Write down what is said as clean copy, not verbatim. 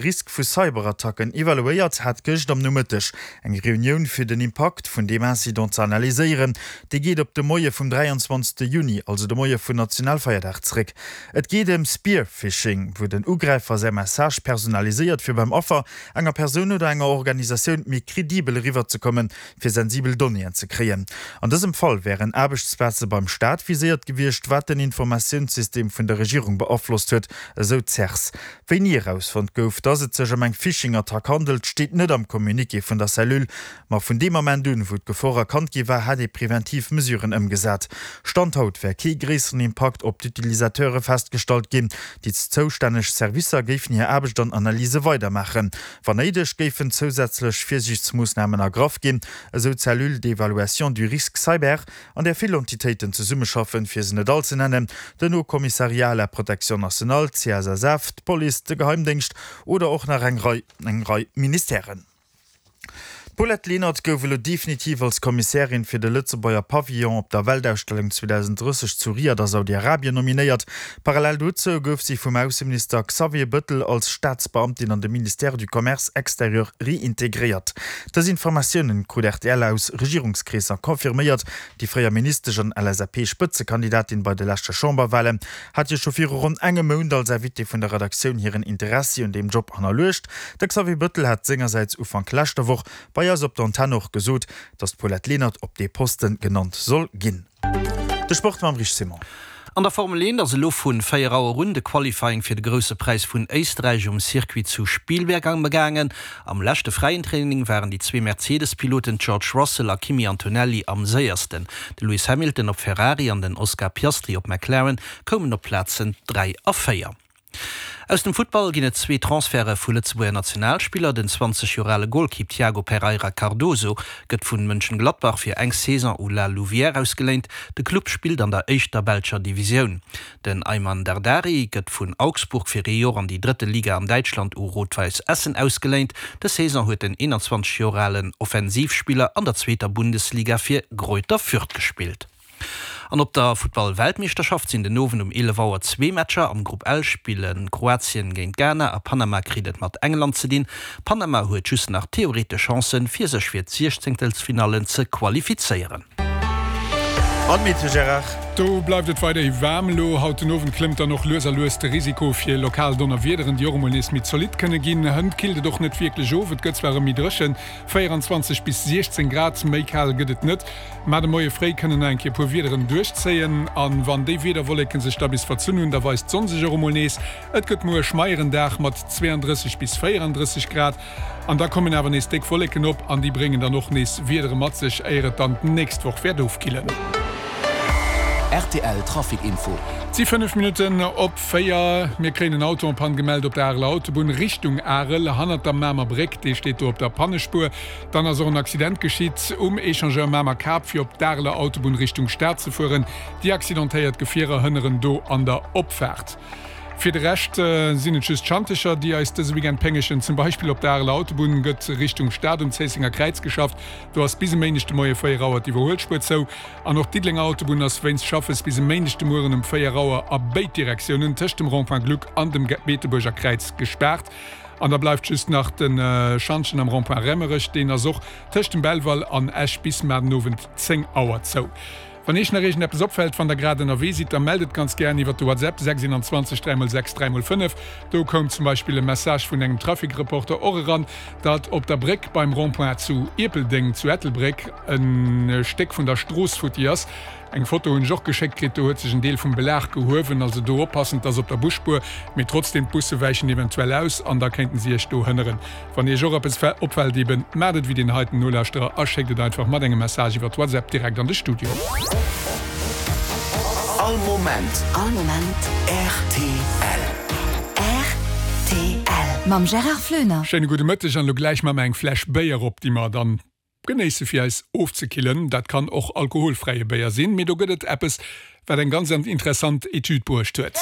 Risk vu Cyberattacken evaluéiert, hat gëscht am Nomëtteg eng Reunioun fir den Impakt vun deem Incident ze analyséieren. Déi geet op de Moie vum 23 Juni, also de Moie vun Nationalfeierdag zeréck. Et geet ëm Spear-Phishing, wou den Ugräifer säi Message personaliséiert fir beim Affer, enger Persoun oder enger Organisatioun méi kredibel eriwwerzekommen, fir sensibel Donnéeën ze kréien. An dësem Fall wären Aarbechtsplaze beim Staat viséiert gewiescht, wat den Informatiounssystem vun der Regierung beaflosst huet, esou d'CERS. Wéini erausfonnt gouf, dass et sech ëm eng Phishing-Attack handelt, steet net am Communiqué vun der Cellule. Ma vun deem Ament un, wou d'Gefor erkannt gi war, hätt ee preventiv Mesuren ëmgesat. Stand haut wär kee gréisseren Impakt op d'Utilisateure festgestallt ginn. Déi zoustänneg Servicer géifen hir Aarbecht an Analyse weidermaachen. Wann néideg, géifen zousätzlech Virsiichtsmoossnamen ergraff ginn, esou d'Cellule d'évaluation du risque cyber. an där vill Entitéiten zesummeschaffen, fir se net all ze nennen, den Haut Commissariat à la protection nationale, d'CSSF, d'Police, de Geheimdéngscht oder och nach eng Rei eng Rei Ministèren. D'Paulette Lenert gouf elo definitiv als Kommissärin fir de Lëtzebuerger Pavillon op der Weltausstellung 2030 zu Riad a Saudi-Arabien nominéiert. Parallel dozou gouf si vum Ausseminister Xavier Bëttel als Staatsbeamtin an de Ministère du Commerce extérieur reintegréiert. Dës Informatiounen krut rtl aus Regierungskreesser confirméiert. Déi fréier Ministesch an LSAP-Spëtzekandidatin bei de leschte Chamberwalen hat jo scho viru ronn engem Mount als Invitée vun der Redaktioun hiren Interessi un deem Job hannerluecht. De Xavier Bëttel hat sengersäits Ufank leschter Woch bei eis op der Antenn och gesot, datt d'Paulette Lenert op dee Posten genannt soll ginn. De Sport mam Rich Simon. An der Formel 1 ass elo vu 4 Auer un de Qualifying fir de Grousse Präis vun Éisträich um Circuit zu Spielberg amgaangen. Am leschte fräien Training waren déi zwee Mercedes-Piloten George Russell a Kimi Antonelli am séiersten. De Lewis Hamilton op Ferrari an den Oscar Piastri op McLaren koumen op d'Plazen 3 a 4. Aus dem Futtball ginn et zwee Transferte vu Lëtzebuerger Nationalspiller. Den 20 Joer ale Golkipp Tiago Pereira Cardoso gëtt vun Mönchengladbach fir eng Saison u La Louvière ausgeléint. De Club spillt an der éischter belscher Divisioun. Den Aiman Dardari gëtt vun Augsburg fir ee Joer an déi drëtte Liga an Däitschland u Rot-Weiss Essen ausgeléint. Dës Saison huet den 21 Joer alen Offensivspiller an der zweeter Bundesliga fir Greuther Fürth gespillt. An op der Futtball-Weltmeeschterschaft sinn den Owend um 11 Auer zwee Matcher. Am Grupp L spille Kroatien géint Ghana a Panama kritt et mat England ze dinn. Panama huet just nach theoretesch Chancen, fir sech fir d'Siechzéngtelsfinallen ze qualifizéieren. An d'Meteo, Gérard? Do bleift et weiderhi waarm. Elo haut den Owend klëmmt dann och lues a lues de Risiko fir lokal Donnerwiederen, déi och emol nees méi zolidd kënne ginn. Hënt killt et och net wierklech of, et gëtt zwar erëm méi dréchen, 24 bis 16 Grad, méi kal gëtt et net. Mä de Moie fréi kënnen nach eng Kéier e puer Wiederen duerchzéien an wann déi Wiederwolleken sech da bis verzunn hunn, da weist d'Sonn sech och emol nees. Et gëtt muer e schmeieren Dag mat 32 bis 34 Grad an da kommen awer nees déck Wolleken op an déi bréngen dann och nees Wiedere mat sech, éier et dann d'nächst Woch wäert ofkillen. Rtl Trafic Info. Et si 5 Minutten op 4. Mir kréien en Auto en panne gemellt op der Areler Autobunn Richtung Arel, hannert der Mamer Bréck. Dee steet do op der Pannespuer. Dann ass och en Accident geschitt um Echangeur Mamer-Kap, fir op d'Areler Autobunn Richtung Stad ze fueren. Déi accidentéiert Gefierer hënneren do an der Opfaart. Fir de Rescht sinn et just Schantecher, déi eis dëse Weekend péngegen. Zum Beispill op der Areler Autobunn gëtt Richtung Stad um Zéissenger Kräiz geschafft. Do ass bis e Méindeg de Moie 4 Auer d'Iwwerhuelspuer zou. An och d'Diddelenger Autobunn ass wéinst Schaffes bis e Méindeg de Mueren um 4 Auer a béid Direktiounen tëscht dem Rond-point Gluck an dem Beetebuerger Kräiz gespaart. An da bleift just nach de Schantjen am Rond-point Raemerech. Deen ass och tëscht dem Belval an Esch bis mar den Owend 10 Auer zou. Wann Iech nach iergendeppes opfält, wann der grad ënnerwee sidd, da mellt et ganz gären iwwert de WhatsApp 621 3 x 6 3 x 5. Do koum zum Beispill e Message vun engem Trafic-Reporter och eran, datt op der Bréck beim Rond-point zu Ierpeldeng zu Ettelbréck e Stéck vun der Strooss futti ass. Eng Foto hunn ech och geschéckt kritt, do huet sech en Deel vum Belag gehuewen. Also do oppassen, 't ass op der Busspuer, mee trotzdem, d'Busse wäichen eventuell aus an da kéinten si iech do hënneren. Wann iech och eppes opfält eben, maacht et wéi deen heiten Nolauschterer a schéckt et einfach mat engem Message iwwert WhatsApp direkt an de Studio. All Moment. All Moment. Rtl. Rtl. Mam Gérard Floener. Schéine gudde Mëtteg an elo gläich maache mer eng Fläsch Béier op, déi mer dann Genéisse fir eis ofzekillen. Dat kann och alkoholfräie Béier sinn, mee do gëtt et eppes, wat eng ganz interessant Etüd bruecht huet.